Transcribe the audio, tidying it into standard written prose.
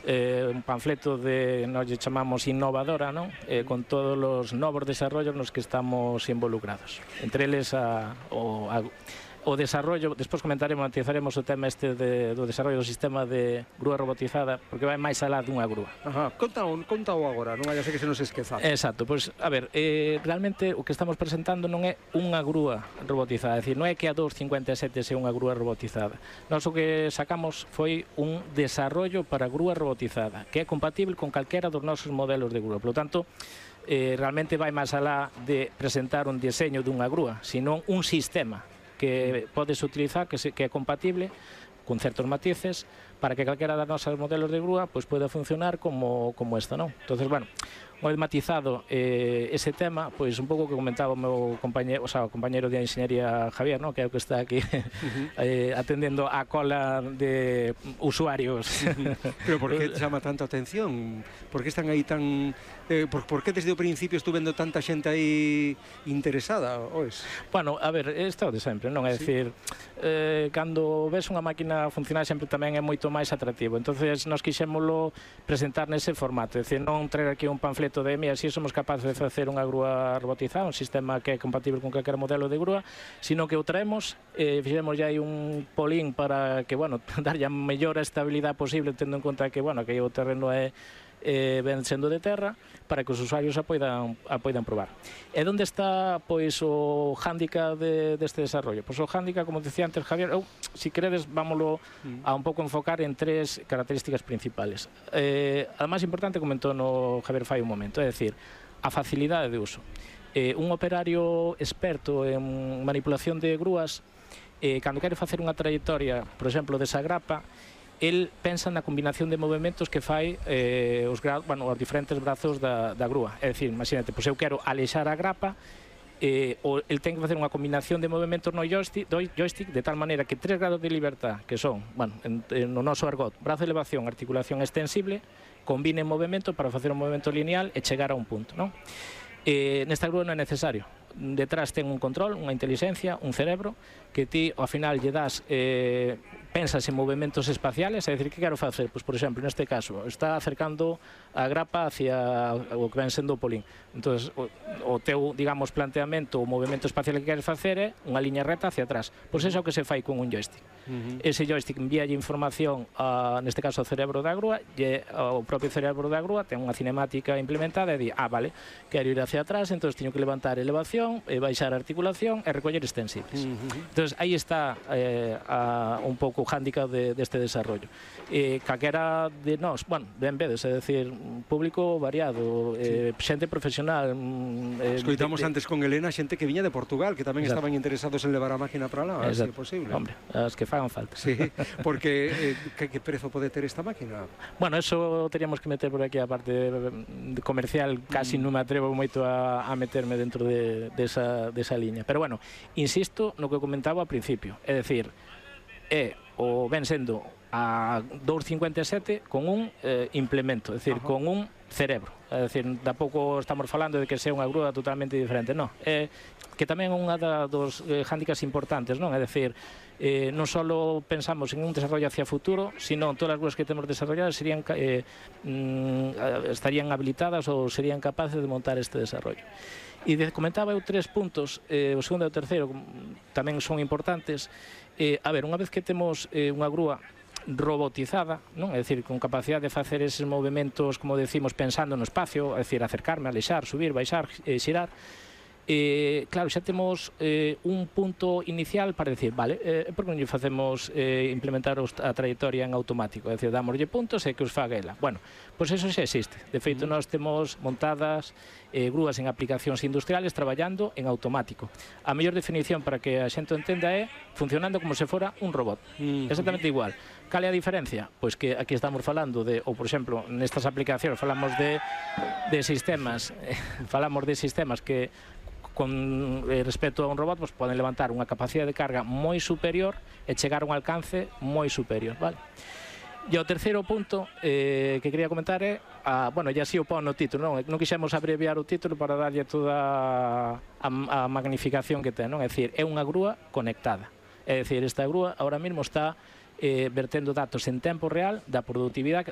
un panfleto de, nos lle chamamos innovadora, non? Con todos os novos desarrollos nos que estamos involucrados. Entre eles o desarrollo, despois matizaremos o tema do desarrollo do sistema de grúa robotizada, porque vai máis alá dunha grúa. Contao agora, non hai que se nos esqueza. Exacto, pois, a ver, realmente o que estamos presentando non é unha grúa robotizada, é dicir, non é que a 257 sea unha grúa robotizada. Nós o que sacamos foi un desarrollo para grúa robotizada, que é compatible con calquera dos nosos modelos de grúa. Por lo tanto, realmente vai máis alá de presentar un diseño dunha grúa, senón un sistema que podes utilizar, que é compatible con certos matices, para que calquera das nosas modelos de grúa pois poida funcionar como esta, non? Entonces, bueno, moi matizado ese tema, pois un pouco que comentaba o meu compañeiro, o compañeiro de Enxeñería Javier, non? Que é o que está aquí atendendo a cola de usuarios. Pero por que chama tanto a atención? Por que están aí tan... por que desde o principio estuve vendo tanta xente aí interesada, ois? Bueno, a ver, é de sempre, non? É dicir, cando ves unha máquina funcionar sempre tamén é moito máis atractivo. Entonces, nós quixémolo presentar nese formato, é dicir, non traer aquí un panfleto de mira, si somos capaces de facer unha grúa robotizada, un sistema que é compatible con calquera modelo de grúa, sino que o traemos, fixemos aí un polín para que, bueno, darlle a mellor estabilidade posible, tendo en conta que, bueno, que o terreno ven sendo de terra, para que os usuarios a poidan probar. E onde está, pois, o hándicap deste desarrollo? Pois o hándicap, como dicía antes Javier, se queredes, vámoslo a un pouco enfocar en tres características principales. A máis importante comentou no Javier fai un momento, é dicir, a facilidade de uso. Un operario experto en manipulación de grúas, cando quere facer unha trayectoria, por exemplo, desa grapa, el pensa na combinación de movimentos que fai os diferentes brazos da grúa. É dicir, imagínate, pois eu quero alexar a grapa, el ten que facer unha combinación de movimentos no joystick de tal maneira que 3 grados de libertad, que son, no noso argot, brazo de elevación, articulación extensible, combinen movimento para facer un movimento lineal e chegar a un punto, non? Nesta grúa non é necesario. Detrás ten un control, unha inteligencia, un cerebro, que ti ao final lle das, pensas en movimentos espaciales, é dicir, que quero facer? Pois, por exemplo, neste caso, está acercando a grapa hacia o que ven sendo o polín. Entón, o teu, digamos, planteamento, o movimento espacial que queres facer é unha liña reta hacia atrás. Pois é o que se fai con un joystick. Ese joystick envíalle información, neste caso, ao cerebro da grúa, e o propio cerebro da grúa ten unha cinemática implementada e di, vale, quero ir hacia atrás, entón teño que levantar elevación, baixar a articulación e recoller extensibles. Entón, aí está un pouco o hándicap deste desarrollo. Calquera de nós, ben vedes, é dicir, un público variado, xente profesional. Escoitamos antes con Elena xente que viña de Portugal, que tamén estaban interesados en levar a máquina para lá, se é posible. Hombre, as que fagan falta. Sí, porque que prezo pode ter esta máquina? Bueno, eso teríamos que meter por aquí a parte comercial, casi non me atrevo moito a meterme dentro desa liña. Pero bueno, insisto no que comentaba ao principio, é dicir, o ven sendo a 257 con un implemento, é dicir, con un cerebro. É dicir, tampouco estamos falando de que sea unha grúa totalmente diferente, non. Que tamén é unha dos hándicaps importantes, non? É dicir, non só pensamos en un desarrollo hacia futuro, sino todas as grúas que temos desarrolladas estarían habilitadas ou serían capaces de montar este desarrollo. E comentaba eu 3 puntos, o segundo e o terceiro tamén son importantes. A ver, unha vez que temos unha grúa robotizada, non? É dicir, con capacidade de facer eses movimentos, como decimos, pensando no espacio, é dicir, acercarme, alexar, subir, baixar, xirar, claro, xa temos un punto inicial para decir, vale, por que non lle facemos implementar a trayectoria en automático, é dicir, damoslle puntos e que os faga ela. Bueno, pois eso xa existe. De feito, nós temos montadas grúas en aplicacións industriales traballando en automático. A mellor definición para que a xente entenda é funcionando como se fora un robot. Exactamente igual. Cal é a diferencia? Pois que aquí estamos falando de, ou por exemplo, nestas aplicacións falamos de sistemas, que con respecto a un robot poden levantar unha capacidade de carga moi superior e chegar a un alcance moi superior, vale? E o terceiro punto que quería comentar é, bueno, ya así o pon no título, non quixemos abreviar o título para darlle toda a magnificación que ten, non? É dicir, é unha grúa conectada. É dicir, esta grúa ahora mesmo está vertendo datos en tempo real da produtividade